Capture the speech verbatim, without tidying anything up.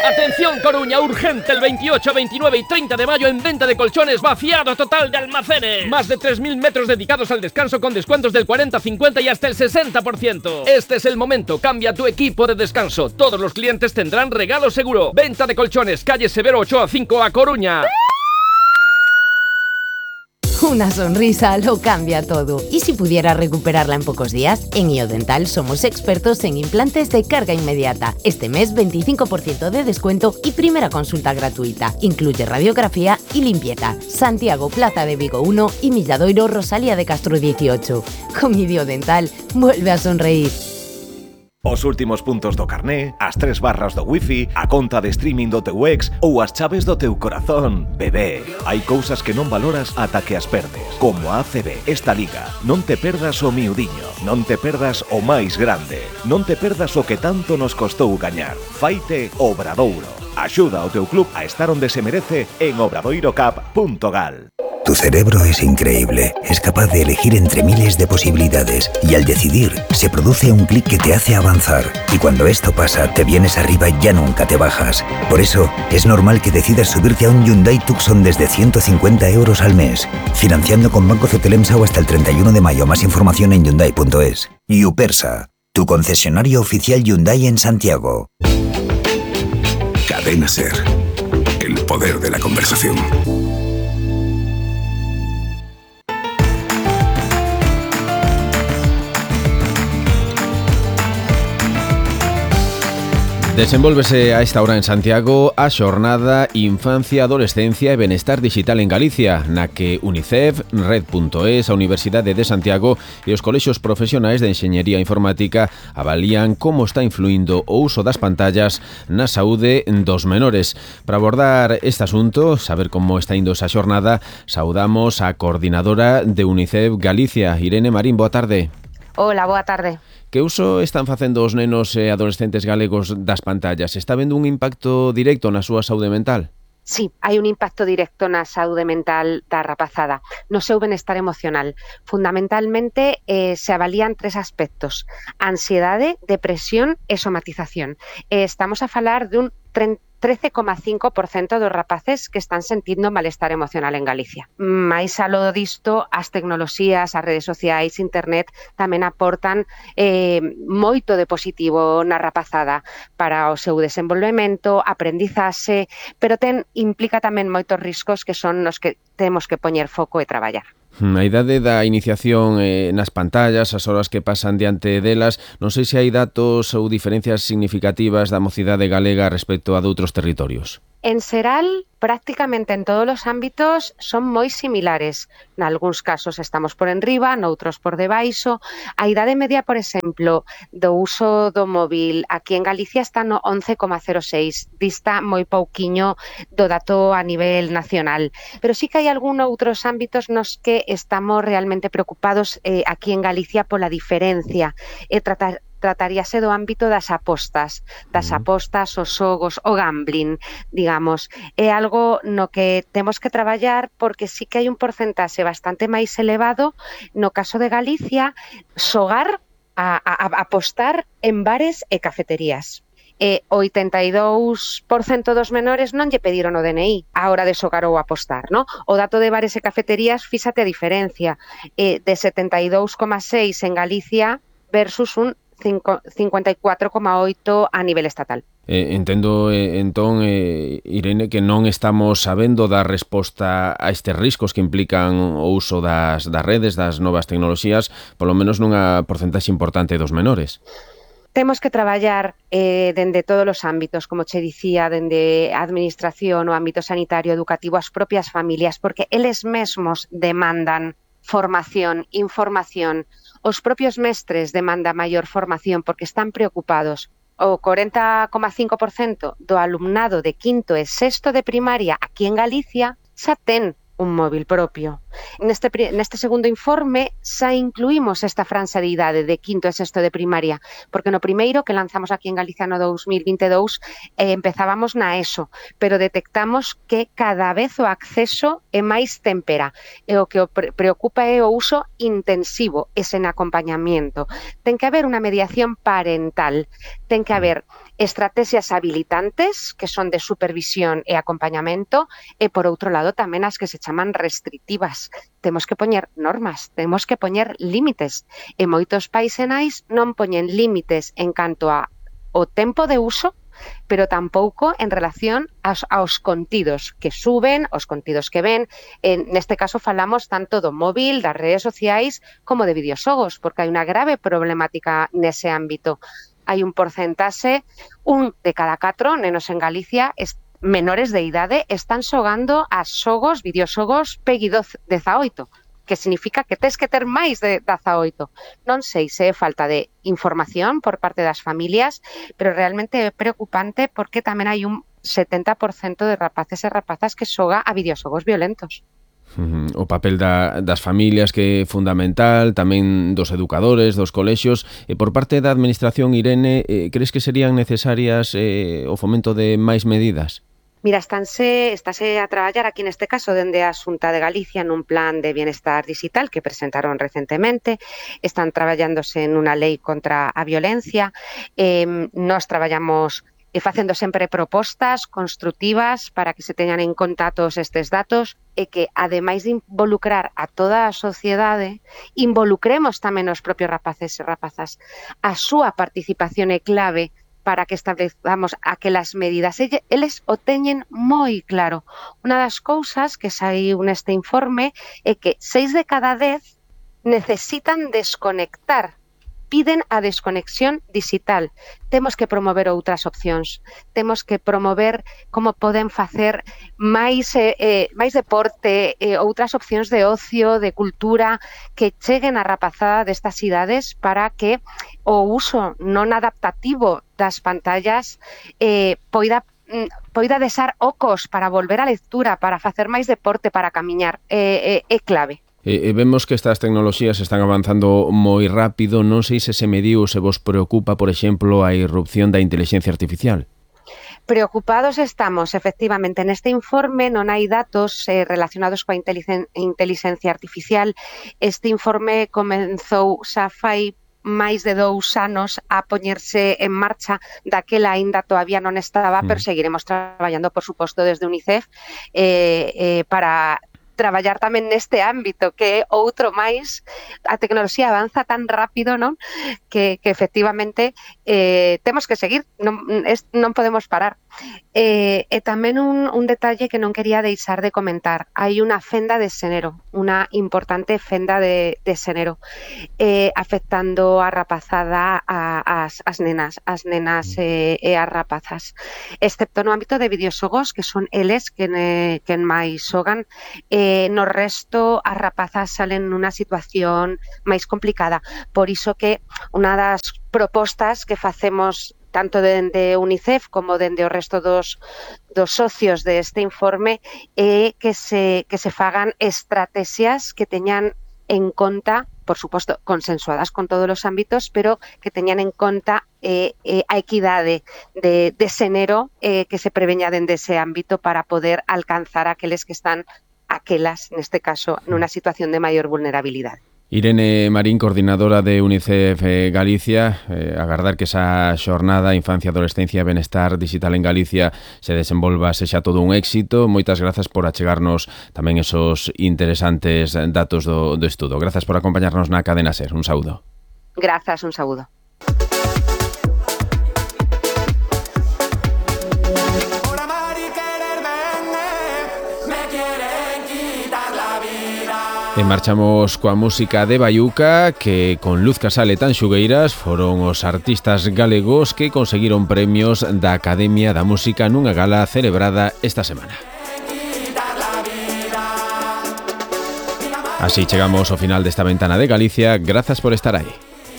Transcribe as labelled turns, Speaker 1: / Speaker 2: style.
Speaker 1: Atención Coruña, urgente, el veintiocho, veintinueve y treinta de mayo en venta de colchones, vaciado total de almacenes. Más de tres mil metros dedicados al descanso con descuentos del cuarenta, cincuenta y hasta el sesenta por ciento. Este es el momento, cambia tu equipo de descanso. Todos los clientes tendrán regalo seguro. Venta de colchones, calle Severo Ochoa cinco a Coruña.
Speaker 2: Una sonrisa lo cambia todo. ¿Y si pudiera recuperarla en pocos días? En Iodental somos expertos en implantes de carga inmediata. Este mes veinticinco por ciento de descuento y primera consulta gratuita. Incluye radiografía y limpieza. Santiago, Plaza de Vigo uno y Milladoiro, Rosalía de Castro dieciocho. Con Iodental, vuelve a sonreír.
Speaker 3: Os últimos puntos do carné, as tres barras do wifi, a conta de streaming do teu ex ou as chaves do teu corazón. Bebé, hai cousas que non valoras ata que as perdes. Como a A C B, esta liga. Non te perdas o miudiño, non te perdas o máis grande, non te perdas o que tanto nos costou gañar. Faite Obradoiro. Axuda ao teu club a estar onde se merece en obradoirocap punto gal.
Speaker 4: Tu cerebro es increíble, es capaz de elegir entre miles de posibilidades y al decidir se produce un clic que te hace avanzar y cuando esto pasa te vienes arriba y ya nunca te bajas. Por eso es normal que decidas subirte a un Hyundai Tucson desde ciento cincuenta euros al mes, financiando con Banco Cetelemsa o hasta el treinta y uno de mayo. Más información en hyundai punto es. Yupersa, tu concesionario oficial Hyundai en Santiago.
Speaker 5: Cadena Ser, el poder de la conversación.
Speaker 6: Desenvólvese a esta hora en Santiago a xornada Infancia, Adolescencia e Benestar Digital en Galicia, na que UNICEF, Red punto es, a Universidade de Santiago e os colexios profesionais de Enxeñería Informática avalían como está influindo o uso das pantallas na saúde dos menores. Para abordar este asunto, saber como está indo esa xornada, saudamos a coordinadora de UNICEF Galicia, Irene Marín. Boa tarde.
Speaker 7: Hola, boa tarde.
Speaker 6: Que uso están facendo os nenos e adolescentes galegos das pantallas? Está vendo un impacto directo na súa saúde mental?
Speaker 7: Sí, hai un impacto directo na saúde mental da rapazada, no seu benestar emocional. Fundamentalmente eh, se avalían tres aspectos: ansiedade, depresión e somatización. Eh, estamos a falar de un trece coma cinco por ciento dos rapaces que están sentindo malestar emocional en Galicia. Mais aló disto, as tecnoloxías, as redes sociais, internet tamén aportan eh, moito de positivo na rapazada para o seu desenvolvemento, aprendizaxe, pero ten implica tamén moitos riscos que son nos que temos que poñer foco e traballar.
Speaker 6: A idade da iniciación eh, nas pantallas, as horas que pasan diante delas, non sei se hai datos ou diferencias significativas da mocidade galega respecto a doutros territorios.
Speaker 7: En xeral, prácticamente en todos os ámbitos son moi similares. Nalgúns casos estamos por enriba, noutros por debaixo. A idade media, por exemplo, do uso do móvil aquí en Galicia está no once coma cero seis, dista moi pouquiño do dato a nivel nacional. Pero sí que hai algún outros ámbitos nos que estamos realmente preocupados eh, aquí en Galicia pola diferencia e tratar trataríase do ámbito das apostas, das apostas, os xogos, o gambling, digamos. É algo no que temos que traballar porque sí que hai un porcentaxe bastante máis elevado no caso de Galicia, xogar a, a, a apostar en bares e cafeterías. E o oitenta e dous por cento dos menores non lle pediron o D N I á hora de xogar ou apostar, no? O dato de bares e cafeterías, fíxate a diferencia, eh, de setenta e dous coma seis en Galicia versus un cincuenta y cuatro coma oito a nivel estatal.
Speaker 6: Eh, entendo, eh, entón, eh, Irene, que non estamos sabendo dar resposta a estes riscos que implican o uso das, das redes, das novas tecnoloxías, polo menos nunha porcentaxe importante dos menores.
Speaker 7: Temos que traballar eh, dende todos os ámbitos, como che dicía, dende a administración, o ámbito sanitario, educativo, as propias familias, porque eles mesmos demandan formación, información. Os propios mestres demandan maior formación porque están preocupados. O corenta coma cinco por ciento do alumnado de quinto e sexto de primaria aquí en Galicia xa ten un móvil propio. Neste, neste segundo informe xa incluímos esta franxa de idade de quinto e sexto de primaria, porque no primeiro que lanzamos aquí en Galicia no dos mil vinte e dous eh, empezábamos na ESO, pero detectamos que cada vez o acceso é máis tempera e o que o pre preocupa é o uso intensivo e sen acompañamiento. Ten que haber unha mediación parental, ten que haber estrategias habilitantes, que son de supervisión e acompañamento, e por outro lado tamén as que se chaman restrictivas. Temos que poñer normas, temos que poñer límites, e moitos países nais non poñen límites en canto a o tempo de uso, pero tampouco en relación aos, aos contidos que suben, os contidos que ven. En neste caso falamos tanto do móvil, das redes sociais, como de videoxogos, porque hai unha grave problemática nese ámbito. Hai un porcentaxe, un de cada catro nenos en Galicia es, menores de idade están xogando a xogos, videoxogos P E G I dezaoito, que significa que tes que ter máis de dezaoito. Non sei se é falta de información por parte das familias, pero realmente é preocupante porque tamén hai un setenta por cento de rapaces e rapazas que xoga a videoxogos violentos.
Speaker 6: Uh-huh. O papel da, das familias que é fundamental, tamén dos educadores, dos colexios. E por parte da administración, Irene, eh, crees que serían necesarias eh, o fomento de máis medidas?
Speaker 7: Mira, estánse, estáse a traballar aquí neste caso dende a Xunta de Galicia nun plan de bienestar digital que presentaron recentemente. Están traballándose en unha lei contra a violencia. Eh, nos traballamos e facendo sempre propostas construtivas para que se teñan en conta todos estes datos e que, ademais de involucrar a toda a sociedade, involucremos tamén os propios rapaces e rapazas. A súa participación é clave para que establezamos aquelas medidas. Eles o teñen moi claro. Unha das cousas que saiu neste informe é que seis de cada dez necesitan desconectar, piden a desconexión digital. Temos que promover outras opcións. Temos que promover como poden facer máis, eh, eh, máis deporte, eh, outras opcións de ocio, de cultura, que cheguen a rapazada destas idades para que o uso non adaptativo das pantallas eh, poida poida desar ocos para volver á lectura, para facer máis deporte, para camiñar. É, é, é clave.
Speaker 6: E, e vemos que estas tecnoloxías están avanzando moi rápido. Non sei se se mediu, se vos preocupa, por exemplo, a irrupción da inteligencia artificial.
Speaker 7: Preocupados estamos, efectivamente. Neste informe non hai datos eh, relacionados coa inteligencia artificial. Este informe comenzou xa fai máis de dous anos a poñerse en marcha, daquela aínda todavía non estaba, mm. pero seguiremos traballando, por suposto, desde UNICEF eh, eh, para traballar tamén neste ámbito, que é outro máis. A tecnoloxía avanza tan rápido, non? Que, que efectivamente eh, temos que seguir, non, es, non podemos parar. Eh, e tamén un, un detalle que non quería deixar de comentar. Hai unha fenda de xénero, unha importante fenda de, de xénero, eh, afectando a rapazada, a, as, as nenas, as nenas e, e as rapazas. Excepto no ámbito de videoxogos, que son eles que, ne, que máis xogan, eh, no resto as rapazas salen nunha situación máis complicada. Por iso que unha das propostas que facemos tanto dende UNICEF como dende o resto dos, dos socios deste informe é que se, que se fagan estrategias que teñan en conta, por suposto, consensuadas con todos os ámbitos, pero que teñan en conta eh, eh, a equidade de, de xénero eh, que se preveña dende ese ámbito para poder alcanzar aqueles que están, aquelas, neste caso, nunha situación de maior vulnerabilidade.
Speaker 6: Irene Marín, coordinadora de UNICEF eh, Galicia, eh, agardar que esa xornada Infancia, Adolescencia e Benestar Digital en Galicia se desenvolva, sexa todo un éxito. Moitas grazas por achegarnos tamén esos interesantes datos do, do estudo. Grazas por acompañarnos na Cadena SER. Un saúdo.
Speaker 7: Grazas, un saúdo.
Speaker 6: E marchamos coa música de Baiuca, que con Luz Casal e Tanxugueiras foron os artistas galegos que conseguiron premios da Academia da Música nunha gala celebrada esta semana. Así chegamos ao final desta ventana de Galicia. Grazas por estar aí.